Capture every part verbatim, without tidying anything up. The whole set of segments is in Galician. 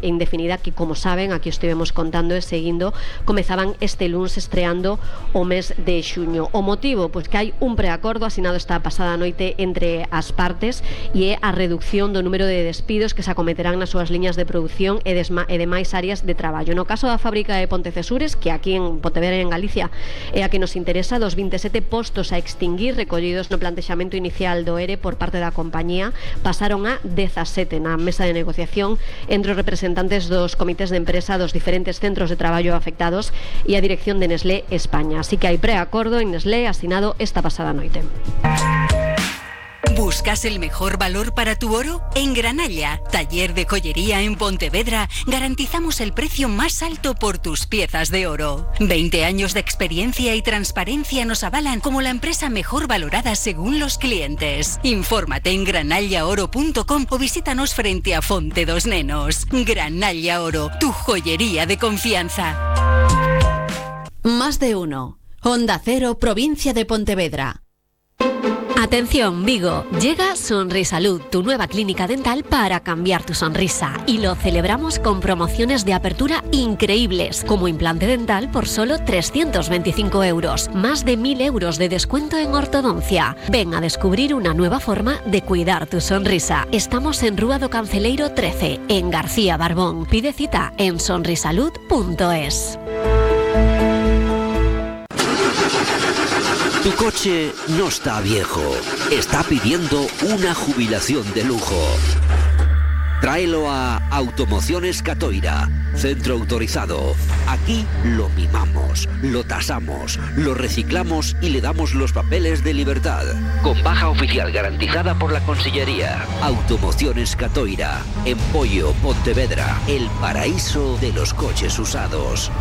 indefinida que, como saben, aquí estivemos contando e seguindo, comezaban este luns estreando o mes de xuño. O motivo, pois que hai un preacordo asinado esta pasada noite entre as partes e é a reducción do número de despidos que se acometerán nas súas liñas de produción e, desma, e demais áreas de traballo. No caso da fábrica de Pontecesures, que aquí en Pontevedra e en Galicia é a que nos interesa, dos vinte e sete postos a extinguir recollidos no plantexamento inicial do ERE por parte da compañía pasaron a dezasete na mesa de negociación entre os representantes dos comités de empresa dos diferentes centros de traballo afectados e a dirección de Nestlé España. Así que hai preacordo en Nestlé asinado esta pasada noite. ¿Buscas el mejor valor para tu oro? En Granalla, taller de joyería en Pontevedra, garantizamos el precio más alto por tus piezas de oro. veinte años de experiencia y transparencia nos avalan como la empresa mejor valorada según los clientes. Infórmate en granalla oro punto com o visítanos frente a Fonte dos Nenos. Granalla Oro, tu joyería de confianza. Más de uno. Onda Cero, provincia de Pontevedra. Atención, Vigo, llega Sonrisalud, tu nueva clínica dental para cambiar tu sonrisa, y lo celebramos con promociones de apertura increíbles, como implante dental por solo trescientos veinticinco euros, más de mil euros de descuento en ortodoncia. Ven a descubrir una nueva forma de cuidar tu sonrisa. Estamos en Rúa do Canceleiro trece, en García Barbón. Pide cita en sonrisalud punto es. Tu coche no está viejo, está pidiendo una jubilación de lujo. Tráelo a Automociones Catoira, centro autorizado. Aquí lo mimamos, lo tasamos, lo reciclamos y le damos los papeles de libertad. Con baja oficial garantizada por la Consellería. Automociones Catoira, en Pollo, Pontevedra, el paraíso de los coches usados.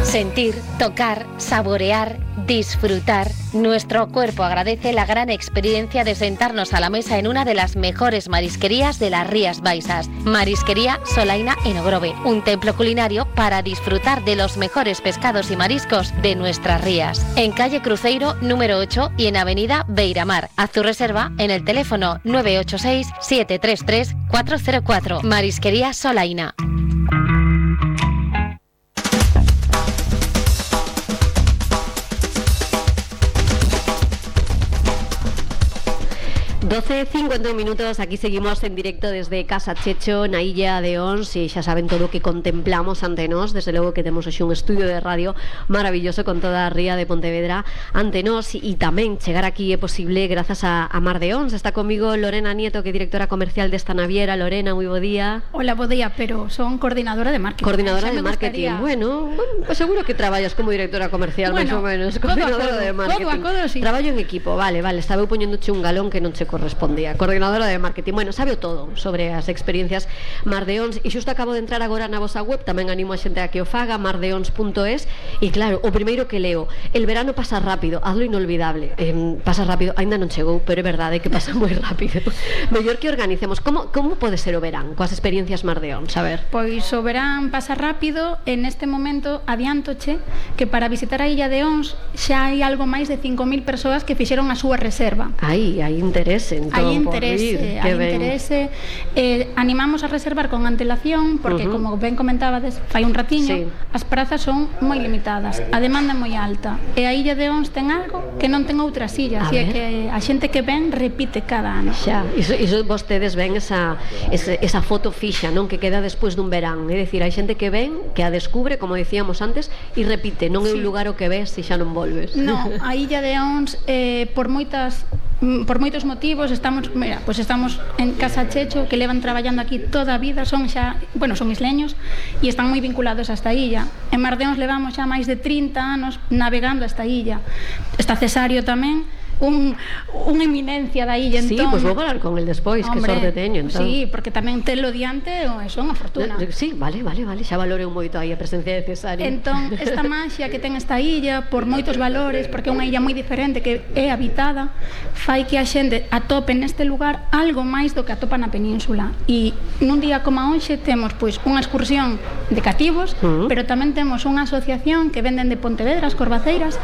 Sentir, tocar, saborear, disfrutar. Nuestro cuerpo agradece la gran experiencia de sentarnos a la mesa en una de las mejores marisquerías de las Rías Baixas. Marisquería Solaina en Ogrove, un templo culinario para disfrutar de los mejores pescados y mariscos de nuestras rías. En calle Cruceiro número ocho y en avenida Beiramar. Haz tu reserva en el teléfono nueve ocho seis, siete tres tres, cuatro cero cuatro. Marisquería Solaina. doce cincuenta minutos, aquí seguimos en directo desde Casa Checho, na Illa de Ons, e xa saben todo o que contemplamos ante nós. Desde logo que temos hoxe un estudio de radio maravilloso con toda a ría de Pontevedra ante nós, e tamén chegar aquí é posible grazas a, a Mar de Ons. Está comigo Lorena Nieto, que é directora comercial desta naviera. Lorena, moi bo día. Hola, bo día, pero son coordinadora de marketing. Coordinadora de marketing, gustaría... bueno, bueno, pues seguro que traballas como directora comercial, bueno, máis ou menos, coordinadora codo, de marketing. Codo a codo, sí. Traballo en equipo, vale, vale, estaba eu poñéndoche un galón que non che correspondía. Coordinadora de marketing, bueno, sabe todo sobre as experiencias Mar de Ons, e xusto acabo de entrar agora na vosa web, tamén animo a xente a que o faga, mar de ons punto es, e claro, o primeiro que leo, el verano pasa rápido, hazlo inolvidable. Eh, pasa rápido, aínda non chegou, pero é verdade que pasa moi rápido. Mellor que organicemos, como, como pode ser o verán coas experiencias Mar de Ons, a ver? Pois o verán pasa rápido, en este momento adiantoche que para visitar a Illa de Ons xa hai algo máis de cinco mil persoas que fixeron a súa reserva. Aí, hai interese, entón. Hai interese, hai interese. Eh, animamos a reservar con antelación porque, uh-huh. como ben comentabades fai un ratiño, sí. As prazas son moi limitadas, a demanda é moi alta, e a Illa de Ons ten algo que non ten outras illas, e é que a xente que ven repite cada ano. Xa, iso, iso vostedes ven esa, esa, esa foto fixa, non, que queda despois dun verán, é dicir, hai xente que ven, que a descubre, como decíamos antes, e repite, non é un lugar o que ves se xa non volves. Non, a Illa de Ons eh, por moitas por moitos motivos estamos, mira, pues estamos en Casa Checho, que levan traballando aquí toda a vida, son xa, bueno, son isleños e están moi vinculados a esta illa. En Mar de Ons levamos xa máis de trinta anos navegando a esta illa. Está Cesario tamén, un, unha eminencia da illa, entón... Sí, pois pues vou falar con el despois, que sorte teño, entón. Sí, porque tamén telo diante son unha fortuna. Sí, vale, vale, vale, xa valorei moito aí a presencia de Cesario. Entón, esta maxia que ten esta illa, por moitos valores, porque é unha illa moi diferente, que é habitada, fai que a xente atope neste lugar algo máis do que atopa na península. E nun día como hoxe temos pois unha excursión de cativos, uh-huh. pero tamén temos unha asociación que venden de Pontevedra, as Corvaceiras,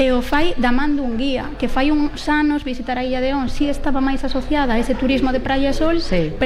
e o fai da man dun guía, que fai uns anos visitar a Illa de Ons si estaba máis asociada a ese turismo de praia e sol, sí. pero